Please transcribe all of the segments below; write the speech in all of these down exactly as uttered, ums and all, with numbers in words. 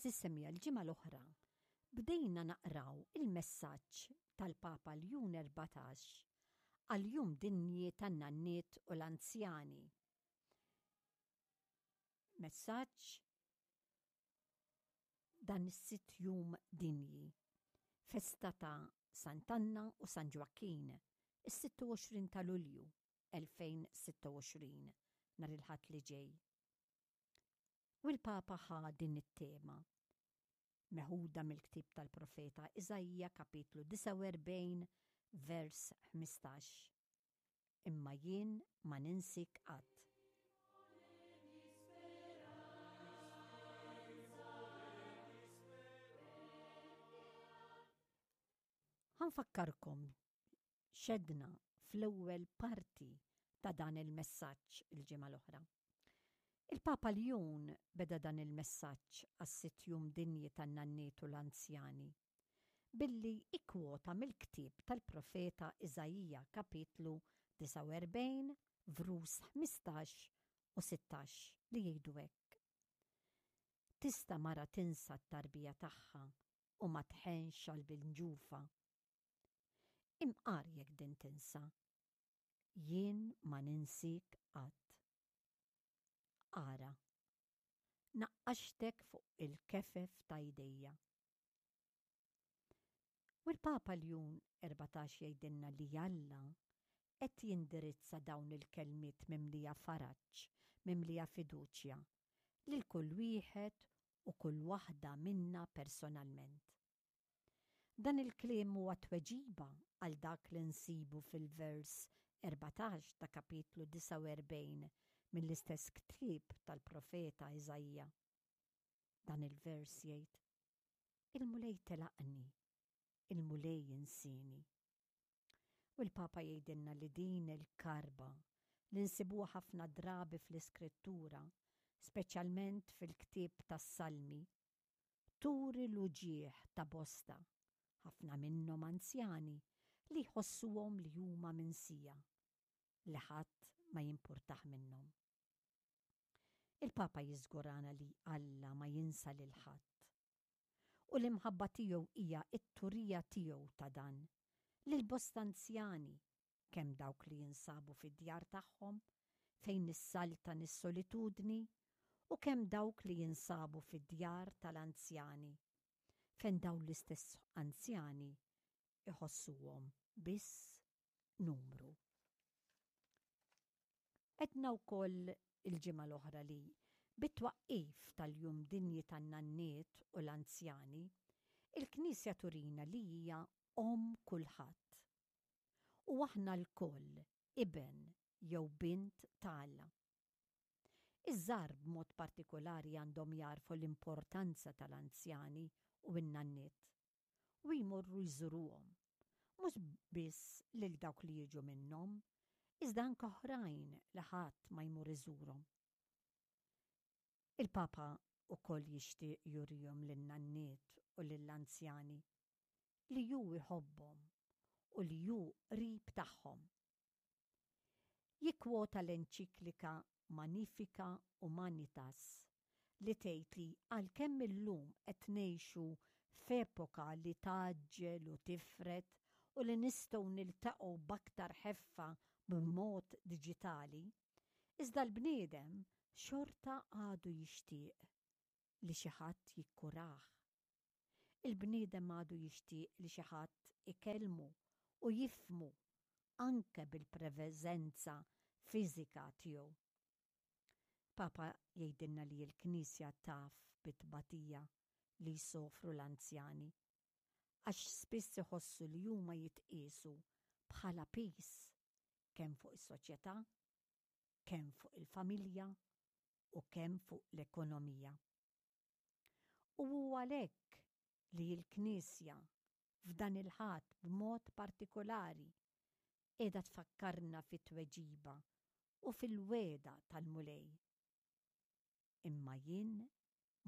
Għeżież semmiegħa, l-ġimgħa l-oħra bdejna naqraw il-messaġġ tal-Papa Ljun Erbatax għal-Jum Dinji tan-Nanniet u l-Anzjani. Messaġġ dan is-sitt jum dinji, festa ta' Sant'Anna u San Ġwakkin, is-sitta u għoxrin ta' Lulju elfejn sitta u għoxrin, nhar il-Ħadd li ġej. U l-Papa ħa din it-tema, meħuda mill-ktieb tal-profeta Iżaija kapitlu disgħa u erbgħin vers ħmistax. Imma jien ma ninsik qatt. Ħanfakkarkom xedna fl-ewwel parti ta' dan il-messaġġ il-ġimgħa l-oħra. Il-Papa Ljun beda dan il-messaġġ għas-sitt jum dinji tan-nanniet u l-anzjani billi ikkwota mill-ktieb tal-profeta Iżaija kapitlu disgħa u erbgħin vrus ħmistax u sittax li jgħidu hekk. Tista' mara tinsa t-tarbija tagħha u ma tħenx għal bil-ġufa. Imqar jekk din tinsa, jien ma ninsik qatt. Ara, naqqaxtek fuq il-kefef ta' jdejja. U l-Papa Ljun erbatax jgħidilna li Alla qed jindirizza dawn il-kelmiet mimlija faraġ, mimlija fiduċja, lil kull wieħed u kull waħda minna personalment. Dan il-kliem huwa tweġiba għal dak li nsibu fil-vers erbatax ta' kapitlu disgħa u erbgħin mill-istess ktieb tal-profeta Iżaija. Dan il-vers jgħid: Il-Mulej telaqni, il-Mulej insini. U l-Papa jgħidilna li din il-karba li nsibuha ħafna drabi fl-Iskrittura, speċjalment fil-ktieb tas-Salmi, turi l-uġigħ ta' bosta, ħafna minnhom anzjani, li jħossuhom li huma minsija, li ħadd ma jimpurtah minnhom. Il-Papa jiżgurana li Alla ma jinsa lil ħadd. U l-imħabba tiegħu hija t-turija tiegħu ta' dan lil bosta anzjani, kemm dawk li jinsabu fid-djar tagħhom fejn issaltan is-solitudni, u kemm dawk li jinsabu fid-djar tal-anzjani, fejn dawn l-istess anzjani iħossuhom biss numru. Edna wkoll il-ġimgħa l-oħra li bit-twaqqif tal-Jum Dinji tan-Nanniet u l-Anzjani, il-Knisja turina li hija omm kulħadd. U aħna lkoll iben jew bint ta' Alla. Iż-żgħar b'mod partikolari għandhom jarfu l-importanza tal-anzjani u n-nanniet u jmorru jżuruhom, mhux biss lil dawk li jiġu minnhom, iżda anke oħrajn li ħadd ma jmur iżurhom. Il-Papa wkoll jixtieq jurihom lin-nanniet u lill-anzjani li hu jħobbhom u li hu qrib tagħhom. Jikkwota l-enċiklika Magnifica Humanitas li tgħid li għalkemm illum qed ngħixu f'epoka li tgħaġġel u tifred u li nistgħu niltaqgħu b'aktar ħeffa b'mod diġitali, iżda l-bniedem xorta għadu jixtieq li xi ħadd jikkurah. Il-bniedem għadu jixtieq li xi ħadd ikellmu u jifhmu anke bil-preżenza fiżika tiegħu. Papa jgħidilna li l-Knisja taf bit-tbatija li jsofru l-anzjani, għax spiss iħossu li huma jitqiesu bħala pis kemm fuq is-soċjetà, kemm fuq il-familja u kemm fuq l-ekonomija. U huwa għalhekk li l-Knisja f'dan il-Ħadd b'mod partikolari qiegħda tfakkarna fit-tweġiba u fil-wegħda tal-Mulej. Imma jien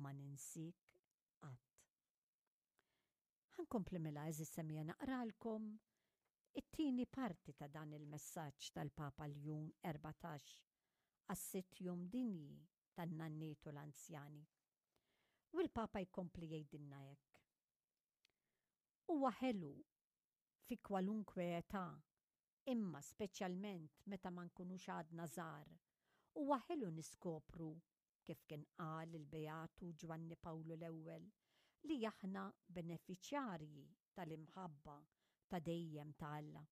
ma ninsik qatt. Ħankompli mela għeżież semmiegħa naqralkom it-tieni parti ta' dan il-messaġġ tal-Papa Ljun erbatax għas-sitt jum dinji tan-nanniet u l-anzjani. U l-Papa jkompli jgħidilna hekk. Huwa ħelu fi kwalunkwe età, imma speċjalment meta ma nkunux għadna żgħar, huwa ħelu niskopru, kif kien qal il-Beatu Ġwanni Pawlu l-Ewwel, li aħna benefiċjarji tal-imħabba ta' dejjem ta' Alla.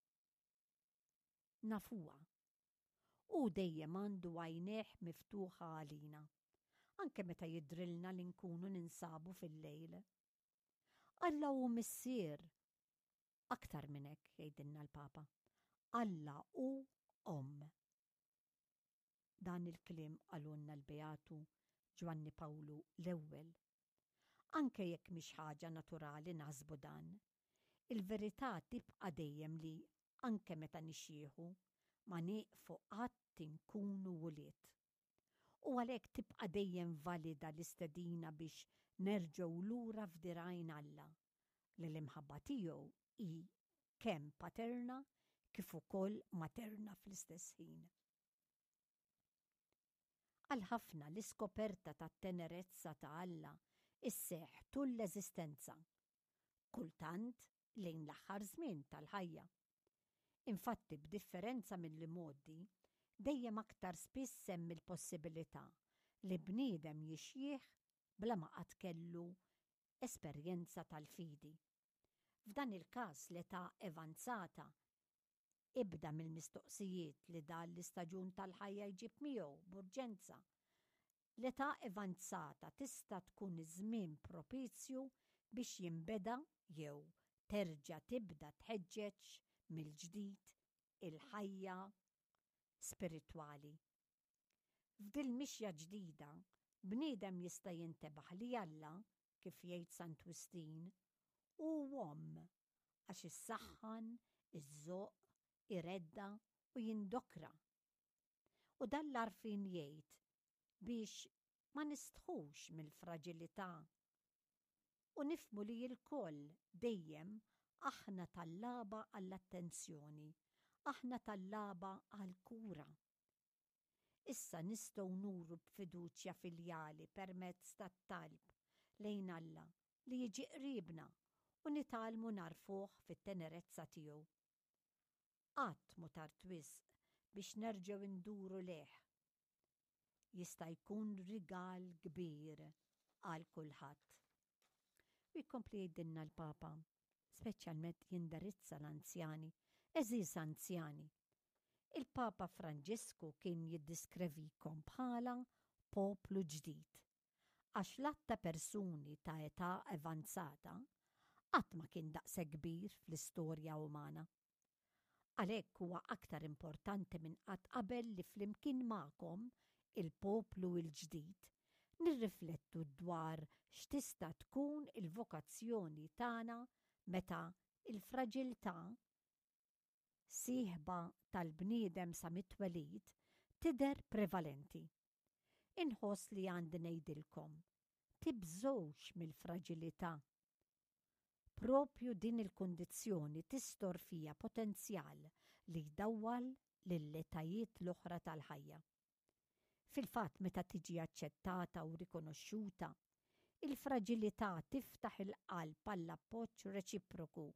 Nafuha. Hu dejjem għandu għajnejh miftuħa għalina, anke meta jidhrilna li nkunu ninsabu fil-lejl. Alla hu missier. Aktar minn hekk, jgħidilna l-Papa, Alla hu omm. Dan il-kliem qalulna l-Beatu Ġwanni Pawlu l-Ewwel. Anke jekk mhix ħaġa naturali naħsbu dan, il-verità tibqa' dejjem li anke meta nixjieħu ma nieqfu qatt inkunu wlied. U għalhekk tibqa' dejjem valida l-istedina biex nerġgħu lura f'dirgħajn Alla, li l-imħabba tiegħu hi kemm paterna kif ukoll materna fl-istess ħin. Għal ħafna l-iskoperta tat-tenerezza ta' Alla isseħħ tul l-eżistenza, kultant lejn l-aħħar żmien tal-ħajja. Infatti, b'differenza mill-imgħoddi, dejjem aktar spiss hemm il-possibilità li bniedem jixjieħ bla ma qatt kellu esperjenza tal-fidi. F'dan il-każ l-età avanzata, ibda mill-mistoqsijiet li dan l-istaġun tal-ħajja jġib miegħu b'urġenza. L-età avanzata tista' tkun iż-żmien propizju biex jinbeda jew terġa' tibda tħeġġeġ mill-ġdid il-ħajja spiritwali. F'dil mixja ġdida, bniedem jista' jintebaħ li Alla, kif jgħid Sant Wistin, hu omm għax issaħħan, iżżoqq, iredda u jindokra. U dan l-għarfien jgħid biex ma nistħux mill-fraġilità u nifhmu li lkoll dejjem aħna tallaba għall-attenzjoni, aħna tallaba għall-kura. Issa nistgħu nuru b'fiduċja filjali permezz tat-talb lejn Alla li jiġi qribna u nitgħallmu nagħrfuh fit-tenerezza tiegħu. Qatt mhu tard wisq biex nerġgħu nduru lejh. Jista' jkun rigal kbir għal kulħadd. U jkompli jgħidilna l-Papa, speċjalment jindirizza l-anzjani, għeżież anzjani. Il-Papa Franġisku kien jiddeskrivikom bħala poplu ġdid, għax l-għadd ta' persuni ta' età avanzata qatt ma kien daqshekk kbir fl-istorja umana. Għalhekk huwa aktar importanti minn qatt qabel li flimkien magħkom, il-poplu l-ġdid, nirriflettu dwar x'tista' tkun il-vokazzjoni tagħna meta il-fraġilità sieħba tal-bniedem sa mit-twelid tidher prevalenti. Inħoss li għandi ngħidilkom, tibżgħux mill-fraġilità. Propju din il-kundizzjoni tistor fija potenzjal li jdawwal lill-etajiet l-oħra tal-ħajja. Fil-fatt, meta tiġi aċċettata u rikonoxxuta, il-fraġilità tiftaħ il-qalb għall-appoġġ reċiproku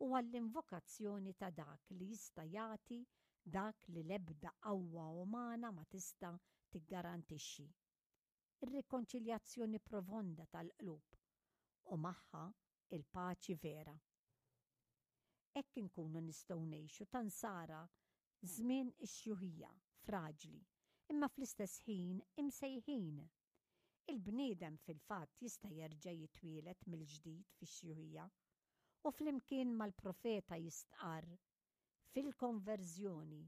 u għall-invokazzjoni ta' dak li jista' jagħti dak li l-ebda qawwa umana ma tista' tiggarantixxi. Ir-rikonċiljazzjoni profonda tal-qlub u magħha il-paċi vera. Hekk inkunu nistgħu ngħixu ta' nsara żmien ix-xjuħija fraġli, imma fl-istess ħin imsejħin. Il-bniedem fil-fatt jista' jerġa' jitwielet mill-ġdid fix-xjuħija u flimkien mal-profeta jistqarr fil-konverżjoni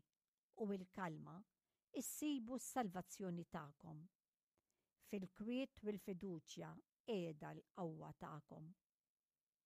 u l-kalma issibu s-salvazzjoni tagħkom. Fil-kwiet u l-fiduċja qiegħda l-qawwa tagħkom.